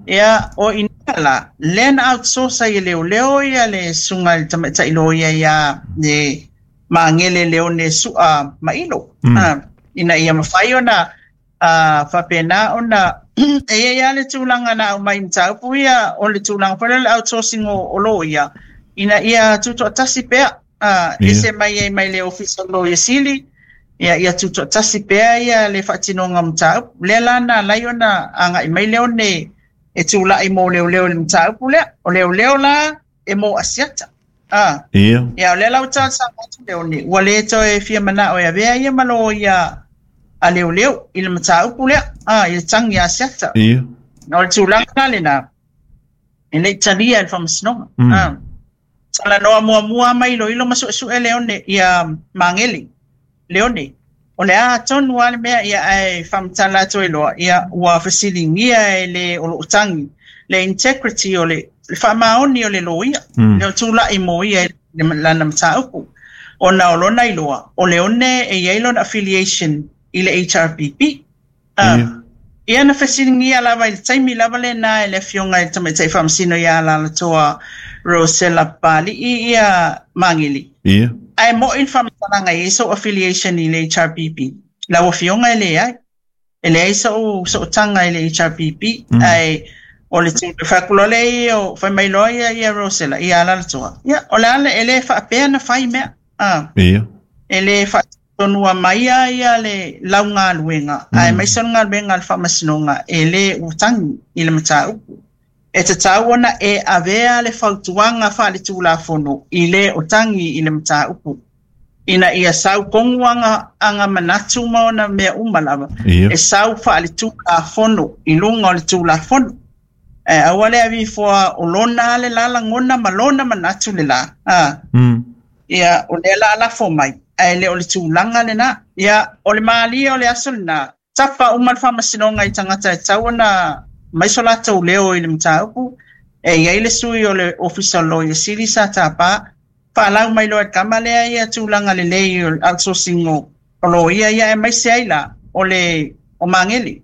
Ia, o ina la, lea na outsource ai e leoleo ia le susuga i le tamaitai loia ia le Magele Leone Sua Mailo. Ina ia mafai ona faapena ona e i ai lava le tulaga na aumai mataupu ia o le tulaga foi lea o le outsourcing o loia ina ia tutoatasi pea ese mai ai mai le ofisa o Loia Sili, ia tutoatasi pea ia le faatinoga o mataupu lea la na ala ai ona agai mai Leone e tulai mo leoleo i le mataupu lea. O leoleo la e mo asiata. Ia, o lea la ua talosaga atu Leone, ua le toe fia manao e avea ia ma loia a leoleo i le mataupu lea, i le tagi a asiata. O le tulaga la lena, e le i talia e le faamasinoga. Talanoa muamua mai iloilo ma suesue Leone ia Magele. Leone, o le a tonu lava le mea ia ae faamatala atu ai loa, ia ua fesiligia e le o loo tagi le integrity o le faamaoni o le loia, le o tulai mo ia i lana mataupu. Ona o lona iloa, o Leone e i ai lona affiliation i le HRPP. Ia na fesiligia lava i le taimi lava lena e le afioga i le tamaitai faamasino ia Alalatoa Rosella Papali'i ia Magele. Ae moi le faamatalaga e i ai sou affiliation i le HRPP. Lau afioga e leai. E leai sou taga i le HRPP. Ae o le fai atu loa lea ia o fai mai loa ia Rosella ia Alalatoa. Ia o le a e le faapea na fai mea. E le faatonua mai ia le laugaluega ae maise o le galuega a le faamasinoga e le ua tagi i le mataupu. E tatau ona e avea le fautuaga faaletulafono i le o tagi i le mataupu. Ina ia sau tonu aga manatu ma ona mea uma lava. E sau faaletulafono i luga o le tulafono. Ae aua le avifoa o lona le la lagona ma lona manatu le la. Ia, o lea la lafo mai, ae le o le tulaga lena. Ia, o le malie o le aso lena, tapa uma le faamasinoga i tagata e tatau ona mai so latou leo i le mataupu. E i ai le sui o le Ofisa o le Loia Sili sa tapa, faalau mai loa e le tama lea ia tulaga lelei o le outsourcing o loia ia aemaise ai la o le o Magele.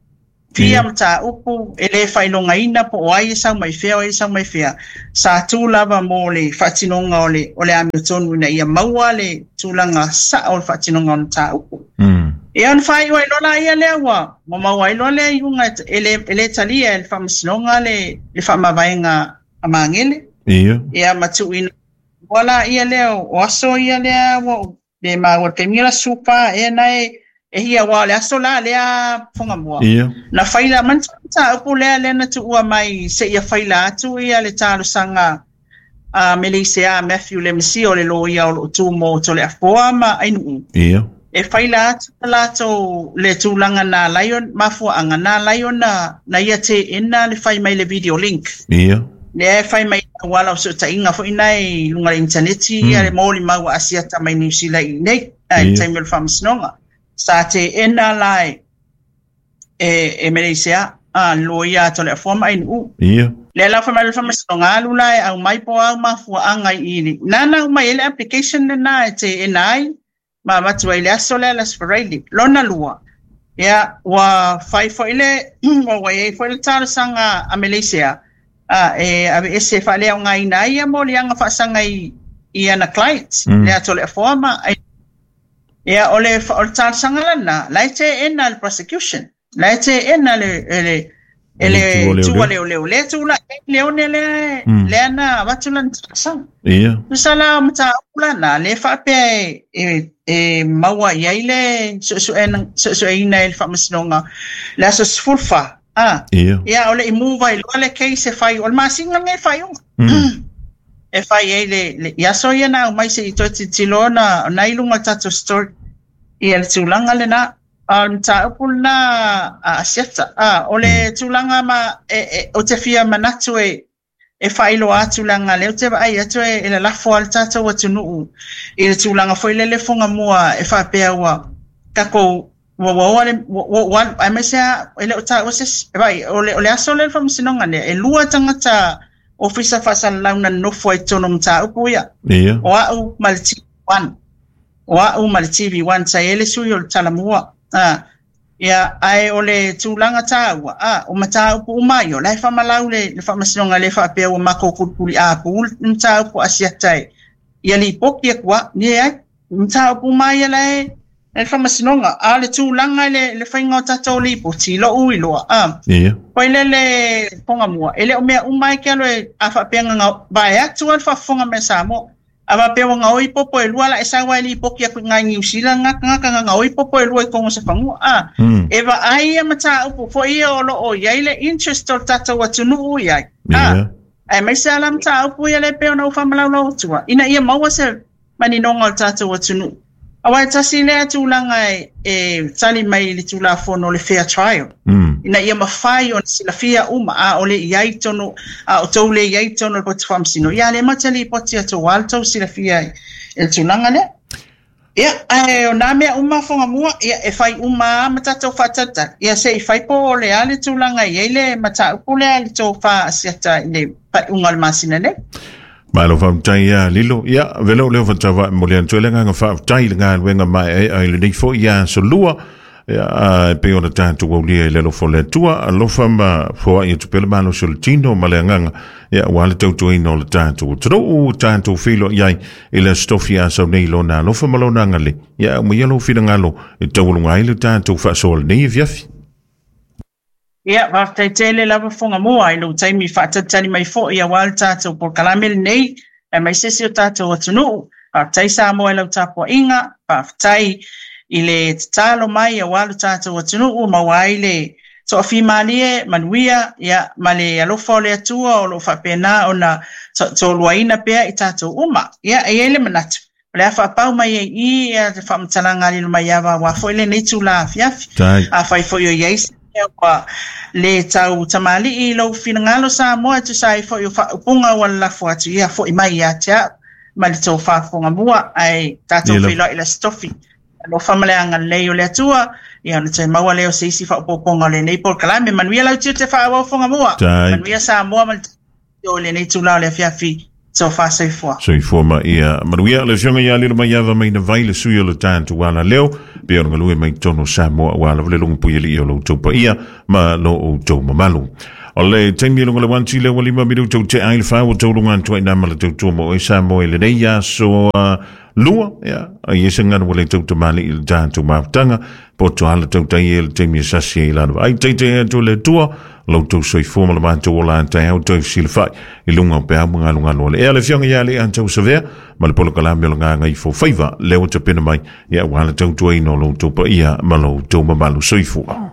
Fia mataupu e le faailogaina po o ai e sau mai fea o ai e sau mai fea, sa tu lava mo le faatinoga o le amiotonu ina ia maua le tulaga sao o le faatinoga o le mataupu. Ia ona faaiu ai loa laia lea ua maua ai loa lea iuga e le talia e le faamasinoga le faamavaega a Magele. Ia ma tuuina ua laia lea o aso ia lea ua le maua le taimi la supa e nai e hia ua le aso la lea Fonga Mua. Na faila mataupu lea lea na tuua mai se ia faila atu ia le talosaga a Meleisea Matthew Lemesi o le loia o loo tu mo Toleafoa ma Ainuu. E faila atu latou le tulaga na lai mafuaanga na lai ona na ia te ena le fai mai le video link. Lea e fai mai auala o fesootaiga foi nai luga le interneti ia le molimau ua asiata mai Niu Sila i nei ai le taimi o le faamasinoga. Sa teena la e Meleisea a loia a Toleafoa ma Ainuu. Lea la fai mai le faamasinoga alu la e aumai po o au mafuaaga i i nana aumai ai le application lena e teena ai ma avatu ai le aso lea le Aso Faraile. Lona lua, ia ua fai foi le ua i ai foi le talosaga a Meleisea e aveese faaleaogaina ai ia moliaga faasaga i ana clients le a Toleafoa ma ia o le talosaga lana la e teena le prosecution la e teena le e le tua leoleo le tula leone le le ana avatu lana talosaga. Tusa la o mataupu lana le faapea e maua i ai le suesueina e le faamasinoga le aso 14. Ia o le i move ai loa le case e fai o le masina lenei faaiuga. E fai ai le i aso ia na aumai se i toe tilotilo ona na i luga o le tatou story ia le tulaga lena. O le mataupu lena a Asiata. O le tulaga ma o te fia manatu e faailoa atu leaga lea ou te vaai atu e lalafo lava le tatou atunuu i le tulaga foi lele Fonga Mua e faapea ua tatou ua le ua alu aemaise lava e le o taua se isi. Vaai o le aso lea o le faamasinoga lea e lua tagata ofisa faasalalau na nonofo ai i totonu o mataupu ia. O au ma le TV1. O au ma le TV1 sa i ai le sui o le Talamua. Ia ae o le tulaga taua o mataupu uma ai o la e faamalau le faamasinoga le faapea ua matou kulikuli apu le mataupu Asiata e ia lipoti atu a leai mataupu uma ia la e le faamasinoga. A o le tulaga le faiga o tatou lipoti lou iloa foi lele Fonga Mua e le o mea uma ai ke alo e a faapea vae atu a le faafofoga mai a Samoa. A faapea ua gaoi popo e lua la e sau ai lipoti atu i ngai Niu Sila gata gaoi popo e lua i tonu o se fanua. E vaai ia mataupu foi ia o loo i ai le interest o le tatou atunuu i ai. Aemaise lava la mataupu ia le pei ona ou faamalaulau atua ina ia maua se maninoga o le tatou atunuu. Aua e tasi lea tulaga e tali mai i le Tulafono o le fair trial. Ina ia mafai ona silafia uma a o le i ai tonu a o tou le i ai tonu o le poto faamasino ia le matou te lipoti atu aua le tou silafia i le tulaga lea. Ia ae o nā mea uma Fonga Mua ia e fai uma lava ma tatou faatalitali ia se i fai po o le a le tulaga i ai le mataupu lea i le tofa Asiata i le faaiuga o le masina nei. Malo faafetai ia Lilo. Ia, velo leo whatawa mo le antu ele nganga faafetai le galuega mai ai ai lenei foi ia aso lua. Ia, e pei ona tatou aulia i le alofa o le Atua, alofa ma foai atu pea le malosi o le tino ma le agaga, ia, aua le tautuaina o le tatou atunuu, tatou feiloai ai i le Aso Tofi a sau nei i lona alofa ma lona agalelei. Ia, aumaia lou finagalo e taualuga ai le tatou faasoa lenei afiafi. Ia, faafetai tele lava Fonga Mua i lou taimi faatalitali mai foi aua le tatou polokalame lenei, aemaise si o tatou atunuu. Faafetai Samoa i lau tapuaiga, faafetai i le tatalo mai aua lo tatou atunuu, maua ai le toafimalie, manuia, ia, ma le alofa o le Atua o lo o faapena ona toluaina pea i tatou uma. Ia, e i ai le manatu, O le a faapau mai ai i i ia le faamatalaga a Lilomaiava aua foi lenei itula afiafi. Afai foi o i ai se mea ua le tau tamalii i lou finagalo Samoa e tusa ai foi o faaupuga ua lalafo atu, ia foi mai ia te au ma le tou faafofoga mua, ae tatou feiloai i le Aso Tofi. Alofa ma le agalelei o le Atua, ia ona toe maua lea o se isi faaopoopoga o lenei polokalame. Manuia lau tiute faaauau Fogamua. Manuia Samoa ma le. o lenei itulā o le afiafi. Tofa soifua. Soifua ma ia manuia. Le Afioga ia Lilomaiava mai na vai le sui o le tatou ala leo, pe o le galue mai totonu o Samoa aua lava le luga puialii o lo outou paia ma lo outou mamalu. O le taimi e luga le 1 le ua 5 minuta ua tea ai le 4 ua tauluga atu ai nā ma le tautua mo oe Samoa i lenei aso lua, ia, ai e se ganu ua le tautamali'i i le tatou mafutaga, poto ala tautai e le taimi e sasi ai lalo. Ai taitai atu le Atua, lo outou soifua ma le matou ola a taeao toe fesilafai i luga o peau ma galugalu o le ea. Le Afioga ia Alii Antau Savea ma le polokalame o le Gagaifo Faiva, lea ua tapena mai, ia, aua le tautuaina o lo outou paia ma lo outou mamalu. Soifua.